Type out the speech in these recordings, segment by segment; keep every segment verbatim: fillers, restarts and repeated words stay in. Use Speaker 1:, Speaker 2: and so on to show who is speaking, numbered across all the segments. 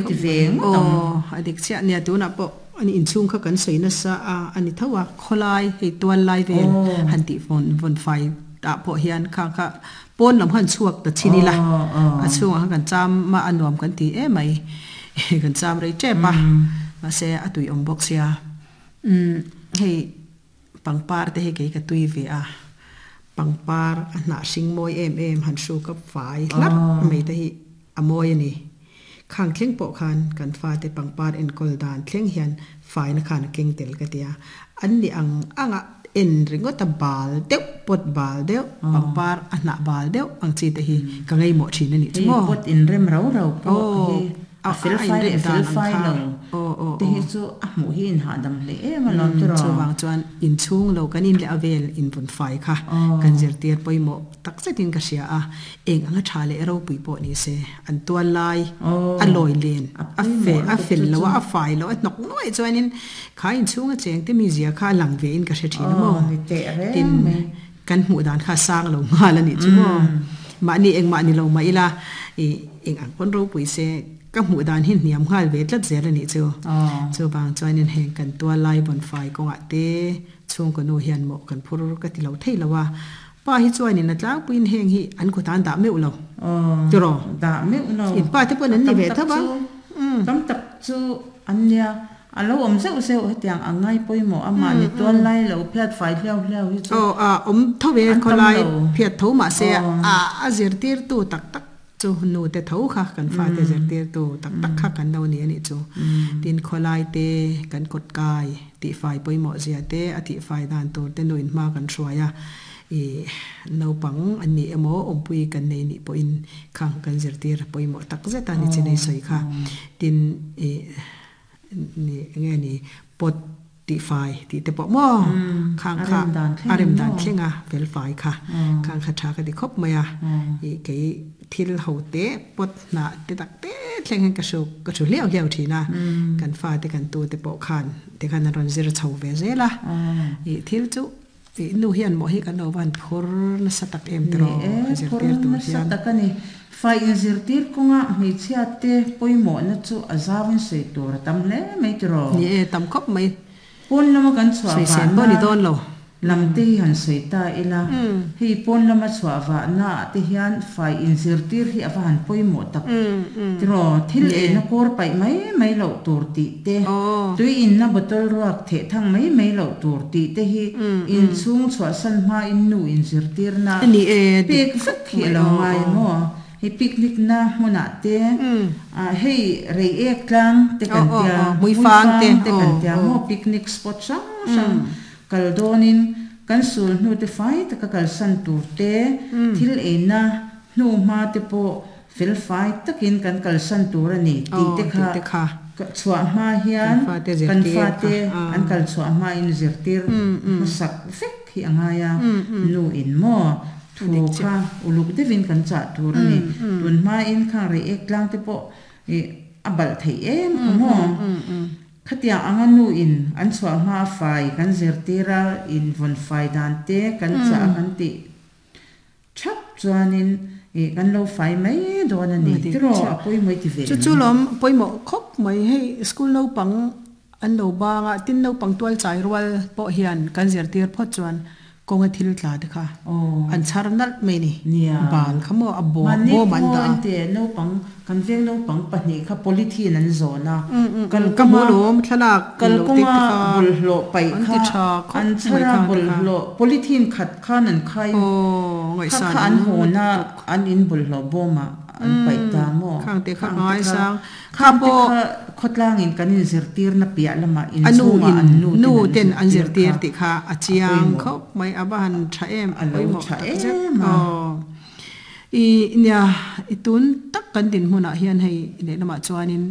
Speaker 1: moi ti ve ngawt ang.
Speaker 2: Aw a dik chiah nia tunah pawh ani inchhung kha kan sawi nasa a ani tho a khawlai hei tual lai vel han tih vawn vawn fai tah pawh hian kha kha pawn lam han chhuak ta chin ila a chhungah khan kan cham a a nuam kan ti em mai kan cham rei tep a mahse a tui awm bawk sia umm hei pangpar te hi kei ka tui ve a pangpar a hnah hring mawi em em han hruk a fai hlap mai te hi a mawi a ni. Khang thleng pawh khan kan fate pangpar enkawl dan thleng hian faina khan a keng tel ka ti a, an ni ang anga en ringawt a bal deuh pawt bal deuh pangpar a hnah bal deuh ang chi te hi ka ngaimawh thin a nih chu
Speaker 1: Hei
Speaker 2: maw.
Speaker 1: pot inrem rau rau pawh
Speaker 2: Aw
Speaker 1: hi
Speaker 2: a
Speaker 1: a fel
Speaker 2: a
Speaker 1: fai
Speaker 2: inrem
Speaker 1: leh
Speaker 2: dan
Speaker 1: fel
Speaker 2: ang
Speaker 1: fai
Speaker 2: kha
Speaker 1: lo
Speaker 2: aw aw
Speaker 1: te
Speaker 2: aw.
Speaker 1: hi chu a hmuh hi inhahdam hle em alawm
Speaker 2: Umm
Speaker 1: tiraw.
Speaker 2: chuvang chuan inchhung lo kan in leh a vel invun fai kha kan
Speaker 1: Aw.
Speaker 2: zirtir pawimawh tak zetin ka hria a, eng anga tha leh ropui pawh ni se an tual lai a
Speaker 1: Aw
Speaker 2: lawi len
Speaker 1: a
Speaker 2: a fe
Speaker 1: pawimawh
Speaker 2: a
Speaker 1: lutuk
Speaker 2: fel
Speaker 1: chu
Speaker 2: lo
Speaker 1: chu.
Speaker 2: a a fai lo a hnawk nuaih chuanin kha inchhunga cheng te mizia kha a lang ve in ka hre thin a
Speaker 1: Aw
Speaker 2: maw
Speaker 1: ni teh
Speaker 2: tin
Speaker 1: reng mai.
Speaker 2: kan hmuh dan kha a sang lo nghal a nih chu maw mahni engmah ni lo mah ila ih eng ang pawn ropui se ka hmuh dan hi hniam nghal ve tlat zel a nih chu.
Speaker 1: Aw.
Speaker 2: Chuvang chuanin heng kan tual lai vawn fai kawngah te chhungkaw nu hian mawh kan phur ka ti lo thei lo a, pa hi chuanin a tlangpuiin heng hi an kut an dah meuh lo
Speaker 1: Aw
Speaker 2: tiraw?
Speaker 1: Dah meuh lo.
Speaker 2: In pa te pawn
Speaker 1: A
Speaker 2: an ni
Speaker 1: tam
Speaker 2: ve
Speaker 1: tak
Speaker 2: tho a
Speaker 1: chu
Speaker 2: umm.
Speaker 1: tam tak chu an nia a lo awm zeuh zeuh hetiang a ngai pawimawh a mahni tual lai lo phiat fai hliau hliau hi chu
Speaker 2: Aw a awm tho ve
Speaker 1: an tam
Speaker 2: khawlai
Speaker 1: lo.
Speaker 2: phiat tho mahse
Speaker 1: Aw.
Speaker 2: a a zirtirtu tak tak chu nu te tho kha kan fate zirtirtu tak tak kha kan lo ni a nih chu. Tin khawlai te kan kawt kai tihfai pawimawh zia te a tihfai dan tur te nuin hma kan hruai a ih naupang an nih emaw awmpui kan nei nih pawhin khang kan zirtir pawimawh tak zet a ni chinei sawi kha. Tin ih ni enge ni pot tihfai tih te pawh maw khang
Speaker 1: A
Speaker 2: kha
Speaker 1: rem dan
Speaker 2: a
Speaker 1: thleng
Speaker 2: rem
Speaker 1: in
Speaker 2: dan
Speaker 1: maw.
Speaker 2: thleng a fel fai kha khang kha tha ka ti khawp mai a ih kei thil ho te pot hnah te tak te thleng hian ka hru ka hru hliau hliau thin a kan fa te kan tu te pawh khan te khan an rawn zir chho ve zel a ih thil chu ih nu hian mawh hi kan lo van phur nasa tak em
Speaker 1: Ni
Speaker 2: tiraw
Speaker 1: e phur
Speaker 2: zirtir tur
Speaker 1: nasa
Speaker 2: hian.
Speaker 1: tak a ni. Fai inzirtir kawnga hmeichhia te pawimawhna chu a zauin sawi tur a tam hle mai tiraw.
Speaker 2: Ni e tam khawp mai.
Speaker 1: Pawn lama kan chhuah
Speaker 2: Sawisel pawh
Speaker 1: vahna
Speaker 2: ni dawn lo.
Speaker 1: lam te hi han sawi ta ila, hei pawn lama chhuah vahna ah te hian fai inzirtir hi a va han pawimawh tak tiraw. Thil
Speaker 2: Ni e.
Speaker 1: eina kawr paih mai mai loh tur tih te,
Speaker 2: Aw.
Speaker 1: tui inna bottle ruak theh thang mai mai loh tur tih te hi inchhung chhuahsan hmain nu inzirtirna
Speaker 2: Ni e dik
Speaker 1: pek
Speaker 2: khawp
Speaker 1: vek hi a
Speaker 2: mai
Speaker 1: lo
Speaker 2: aw
Speaker 1: ngai
Speaker 2: aw.
Speaker 1: maw. Hei picnic na hmunah te ah hei Reiek tlang te
Speaker 2: Aw
Speaker 1: kan
Speaker 2: aw
Speaker 1: tia,
Speaker 2: aw Hmuifang te
Speaker 1: Hmuifang te
Speaker 2: aw
Speaker 1: kan tia
Speaker 2: aw.
Speaker 1: maw picnic spot hrang hrang kal dawnin kan sul hnu te fai taka kalsan tur te, thil eina hnu hma te pawh fel fai takin kan kalsan tur a ni tih
Speaker 2: Aw
Speaker 1: te
Speaker 2: tih
Speaker 1: kha
Speaker 2: te kha.
Speaker 1: chhuah hma
Speaker 2: Kan
Speaker 1: hian
Speaker 2: fate
Speaker 1: kan
Speaker 2: zirtir kha
Speaker 1: fate an
Speaker 2: ah.
Speaker 1: kal chhuah hmain zirtir hmasak vek hi a ngai a, nu in maw
Speaker 2: A
Speaker 1: thu
Speaker 2: dik
Speaker 1: kha
Speaker 2: chiah.
Speaker 1: uluk deuhin kan chah tur a ni. Tun hmain khang Reiek tlang te pawh ih a balh theih em kha maw. Khatiang anga nu in an chhuah hma fai kan zirtir a, in vawn fai dan te kan chah a kan tih thap chuanin ih kan lo fai mai dawn a ni
Speaker 2: A dik
Speaker 1: tiraw
Speaker 2: chiah.
Speaker 1: a pawimawh ti ve
Speaker 2: Chu
Speaker 1: em?
Speaker 2: chu lawm pawimawh khawp mai hei school naupang an lo bang a, tin naupang tual chai rual pawh hian kan zirtir phawt chuan kawnga thil tla te kha
Speaker 1: Aw.
Speaker 2: an chhar nalh mai ni.
Speaker 1: Nia.
Speaker 2: Bal kha maw a bawm
Speaker 1: Mahni
Speaker 2: bawm an
Speaker 1: pawh
Speaker 2: dah a.
Speaker 1: en teh naupang kan veng naupang pahnih kha polythene an zawn a,
Speaker 2: Um um um ka
Speaker 1: kalkawnga
Speaker 2: hmu lawm thlalak in lo tek
Speaker 1: kalkawnga
Speaker 2: te kha
Speaker 1: bawlhhlawh paih
Speaker 2: an
Speaker 1: kha
Speaker 2: ti tha khawp
Speaker 1: an
Speaker 2: mai
Speaker 1: chhar a
Speaker 2: khang te kha.
Speaker 1: bawlhhlawh polythene khat khan an khai
Speaker 2: Aw
Speaker 1: kha
Speaker 2: ngaihsan
Speaker 1: kha
Speaker 2: awm
Speaker 1: an hawn a
Speaker 2: lutuk.
Speaker 1: an in bawlhhlawh bawmah an paih ta maw
Speaker 2: Khang te kha
Speaker 1: khang
Speaker 2: ka
Speaker 1: te kha
Speaker 2: ngaisang kha
Speaker 1: khang te
Speaker 2: pawh
Speaker 1: kha khawtlangin kan inzirtirna piah lamah
Speaker 2: A nu
Speaker 1: inchhungah
Speaker 2: in
Speaker 1: an nu
Speaker 2: nu
Speaker 1: ten an
Speaker 2: ten an
Speaker 1: zirtir
Speaker 2: zirtir
Speaker 1: kha
Speaker 2: tih kha a
Speaker 1: a
Speaker 2: chiang
Speaker 1: pawimawh
Speaker 2: khawp mai a va han tha em
Speaker 1: a lo
Speaker 2: pawimawh
Speaker 1: tha
Speaker 2: tak zet
Speaker 1: em a.
Speaker 2: aw. I nia i tun tak kan dinhmunah hian hei lehlamah chuanin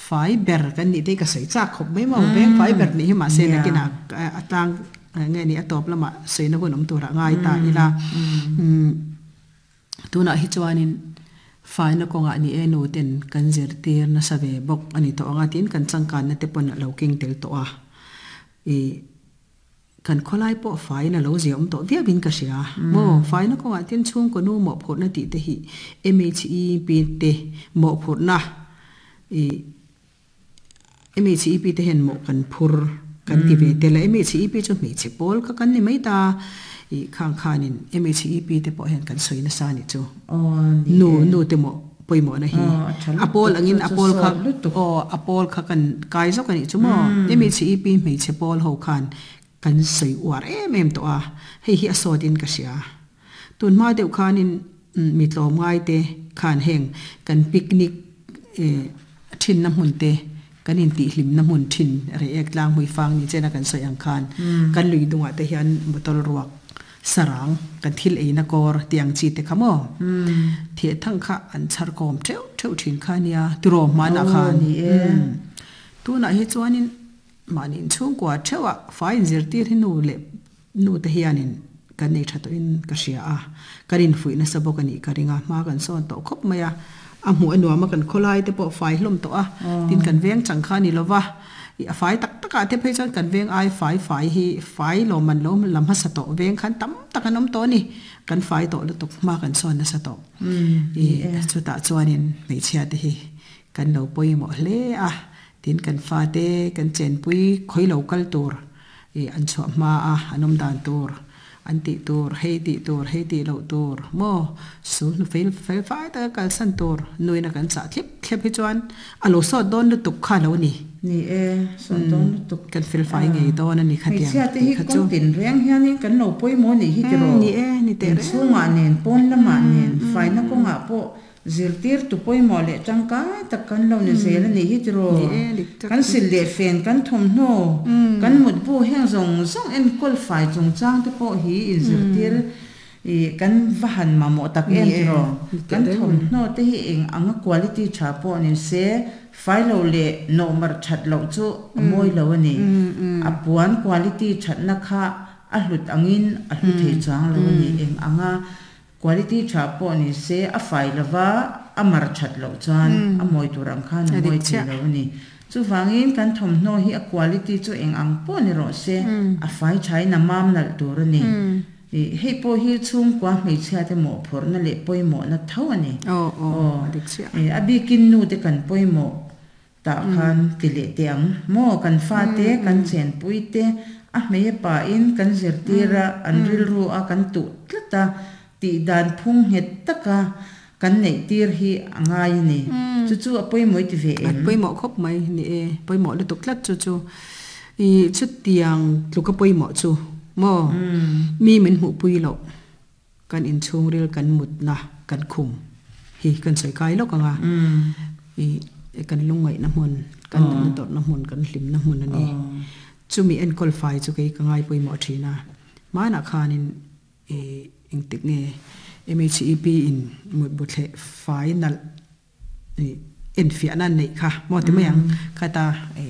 Speaker 2: fai ber kan nih te hi ka sawi chak khawp mai maw veng fai ber nih hi mahse
Speaker 1: Nia.
Speaker 2: nakinah a tlang nge ni a tawp lamah sawina hun awm turah ngai ta ila umm tunah hi chuanin faina kawngah ni e nu ten kan zirtir nasa ve bawk a ni tawh anga tiin kan changkanna te pawn a lo keng tel tawh a i kan khawlai pawh fain a lo zia awm tawh viauin ka hria maw faina kawngah tin chhungkaw nu mawhphurhna tih te hi M H E P te mawhphurhna I M H E P te hen mo kan phur kan ti ve te la M H E P chu mi che pol ka kan ni mai ta i khang khanin M H E P te pawh hian kan sawi nasa ni chu.
Speaker 1: Aw ni.
Speaker 2: Nu nu te mo pawimawh na hi
Speaker 1: Aw a tha
Speaker 2: a pawl
Speaker 1: lutuk
Speaker 2: angin
Speaker 1: chu
Speaker 2: a
Speaker 1: chu
Speaker 2: pawl kha
Speaker 1: sawt lutuk.
Speaker 2: Aw a pawl kha kan kai zawk ani chu maw M H E P hmeichhe pawl ho khan kan sawi uar em em tawh a, hei hi a sawt in ka hria. Tun hma deuh khanin mi tlawm ngai te khan heng kan picnic eh thin na hmun te kan in tih hlim na hmun thin Reiek tlang hmui fang ni chena kan sawi ang khan kan lui dungah te hian bottle ruak sarang kan thil ei na kawr tiang chi te kha maw theh thang kha an chhar kawm theuh theuh thin kha nia tiraw hmanah
Speaker 1: Aw
Speaker 2: khan.
Speaker 1: Ni e.
Speaker 2: Tunah hi chuanin mahni inchhungkua theuhah fai inzirtir hi nu leh nu te hianin kan nei tha tawhin ka hria a, kan infuih nasa bawk a nih ka ring a, hma kan sawn tawh khawp mai a, a hmuh a nuam a, kan khawlai te pawh fai hlawm tawh a, tin kan veng chang kha a ni lova ih a fai tak takah te phei chuan kan veng ai fai fai hi fai lawm an lo lam hmasa tawh veng khan tam tak an awm tawh a ni, kan fai tawh lutuk, hma kan sawn nasa tawh. Ih chutah chuanin hmeichhia te hi kan lo pawimawh hle a, tin kan fa te kan chenpui khawi lo kal tur ih an chhuah hma a an awm dan tur an tih tur hei tih tur hei tih loh tur maw su hnu fel fel fai taka kalsan tur nuin a kan chah thlep thlep hi chuan a lo sawt dawn lutuk kha lo ni.
Speaker 1: Ni e, sawt dawn lutuk.
Speaker 2: Kan fel fai ngei dawn a ni khatiang
Speaker 1: Hmeichhia te
Speaker 2: tih
Speaker 1: hi
Speaker 2: kha chu.
Speaker 1: Kawng tin reng hianin kan lo pawimawh nih hi tiraw.
Speaker 2: Ni e, ni teh reng.
Speaker 1: Inchhungah nen pawn lamah nen faina kawngah pawh zirtir tu pawimawh leh tangkai tak kan lo ni zel a nih hi tiraw.
Speaker 2: Ni e, dik tak.
Speaker 1: Kan sil leh fen kan thawmhnaw kan mutbu heng zawng zawng enkawl fai chungchang te pawh hi inzirtir ih kan va han mamawh tak
Speaker 2: Ni
Speaker 1: em
Speaker 2: e,
Speaker 1: tiraw.
Speaker 2: Ni teh
Speaker 1: Kan
Speaker 2: reng.
Speaker 1: thawmhnaw te hi eng anga quality tha pawh ni se fai lo leh nawhmar that loh chu a mawi lo a ni. A puan quality thatna kha a hlut angin a hlu thei chuang lo a ni. Eng anga quality tha pawh ni se a fai lova a mar that loh chuan a mawi tur ang khan a
Speaker 2: A
Speaker 1: mawi
Speaker 2: dik
Speaker 1: thei
Speaker 2: chiah.
Speaker 1: Lo a ni. Chuvangin kan thawmhnaw hi a quality chu eng ang pawh ni rawh se a fai thain a mam nalh tur a ni. Ih hei pawh hi chhungkua hmeichhia te mawh phurhna leh pawimawhna tho a ni.
Speaker 2: Aw aw
Speaker 1: Aw
Speaker 2: a dik chiah.
Speaker 1: Eh a bikin nu te kan pawimawh tah khan ti leh teh ang maw kan fa te kan chenpui te a hmei a pa in kan zirtir a an rilru a kan tuh tlat a tih dan phung nghet taka kan neih tir hi a ngai a ni. Chu chu a pawimawh i ti ve
Speaker 2: A
Speaker 1: em?
Speaker 2: Pawimawh khawp mai ni e, pawimawh lutuk tlat chu chu i chu tiang tluka pawimawh chu maw mi min hmuh pui loh kan inchhungril kan mutna kan khum hi kan sawi kai lawk anga i kan lungngaihna hmun kan natna tawrhna hmun kan hlimna hmun a ni. Chumi enkawl fai chu kei ka ngai pawimawh thin a, hmanah khanin i engtik nge M H E P in mutbu thleh fai nalh i enfiahna an neih kha maw ti mai ang khata e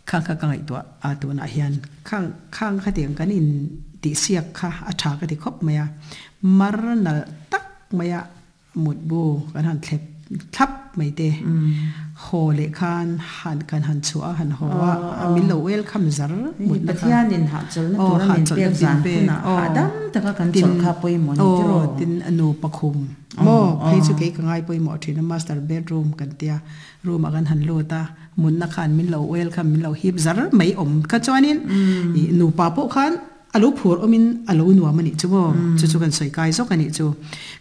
Speaker 2: khang kha ka ngaihtuah a, tunah hian khang khang khatiang kan in tih siak kha a tha ka ti khawp mai a, mar nalh tak mai a mutbu kan han thlep thlap mai te haw leh khan han kan han chhuah a han haw a a min lo welcome zar mutna kha.
Speaker 1: Pathianin hahchawlhna
Speaker 2: Aw
Speaker 1: tura min
Speaker 2: hahchawlhna
Speaker 1: pek zan
Speaker 2: min pek
Speaker 1: hunah
Speaker 2: aw
Speaker 1: hahdam taka kan
Speaker 2: tin
Speaker 1: chawlh kha pawimawh ni
Speaker 2: aw
Speaker 1: tiraw.
Speaker 2: Tin a nu pakhum maw phei chu kei ka ngai pawimawh thin a, master bedroom kan tia room ah kan han lut a, mutna khan min lo welcome min lo hip zar mai awm kha chuanin i nupa pawh khan a lo phur awmin a lo nuam a nih chu maw chu chu kan sawi kai zawk a nih chu.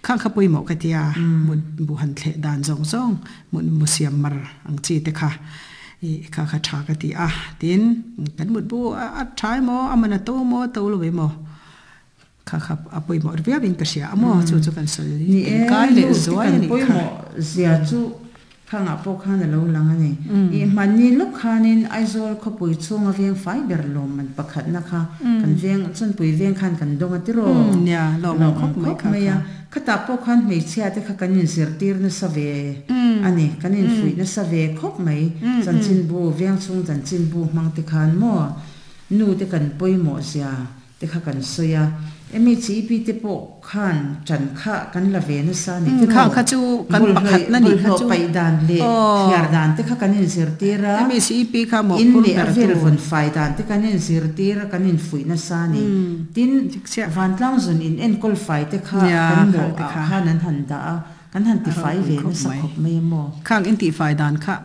Speaker 2: Khang kha pawimawh ka tia mut bu han thleh dan zawng zawng mut mu siam mar ang chi te kha i kha kha tha ka ti a, tin kan mut bu a tha emaw a man a to maw to lo emaw kha kha a pawimawh viau in ka hria a maw chu chu kan sawi
Speaker 1: Ni e
Speaker 2: kai leh
Speaker 1: nu te
Speaker 2: zuai
Speaker 1: kan
Speaker 2: a nih kha.
Speaker 1: Pawimawh zia chu khangah pawh khan a lo lang a ni. I hmanni lawk khanin Aizawl khawpui chhunga veng fai ber lawm man pakhatna kha kan veng Chawnpui veng khan kan dawng a tiraw.
Speaker 2: Nia lawm
Speaker 1: Lawm
Speaker 2: khawp mai
Speaker 1: khawp
Speaker 2: kha
Speaker 1: mai
Speaker 2: kha.
Speaker 1: A khatah pawh khan hmeichhia te kha kan inzirtir nasa ve a ni, kan infuih nasa ve khawp mai. Chanchinbu veng chhung chanchinbu hmang te khan maw nu te kan pawimawh zia te kha kan sawi a, M H E P te pawh khan ṭan kha kan la ve nasa ni
Speaker 2: Khang
Speaker 1: tiraw.
Speaker 2: Kha chu kan pakhat na ni kha
Speaker 1: Bawlhhlawh
Speaker 2: chu
Speaker 1: paih dan leh
Speaker 2: aw
Speaker 1: thliar dan te kha kan inzirtir a.
Speaker 2: M H E P kha mawh
Speaker 1: In
Speaker 2: phur
Speaker 1: leh a
Speaker 2: ber
Speaker 1: vel
Speaker 2: tu.
Speaker 1: Vawn fai dan te kan inzirtir a, kan infuih nasa ni. Tin
Speaker 2: Dik chiah.
Speaker 1: Vantlang zun in enkawl fai te kha
Speaker 2: Nia
Speaker 1: kan
Speaker 2: khang
Speaker 1: mawh
Speaker 2: te
Speaker 1: ah
Speaker 2: kha.
Speaker 1: Khan an han dah a. Kan han ti fai ve na sa khop mai mo.
Speaker 2: Khang in ti fai dan kha.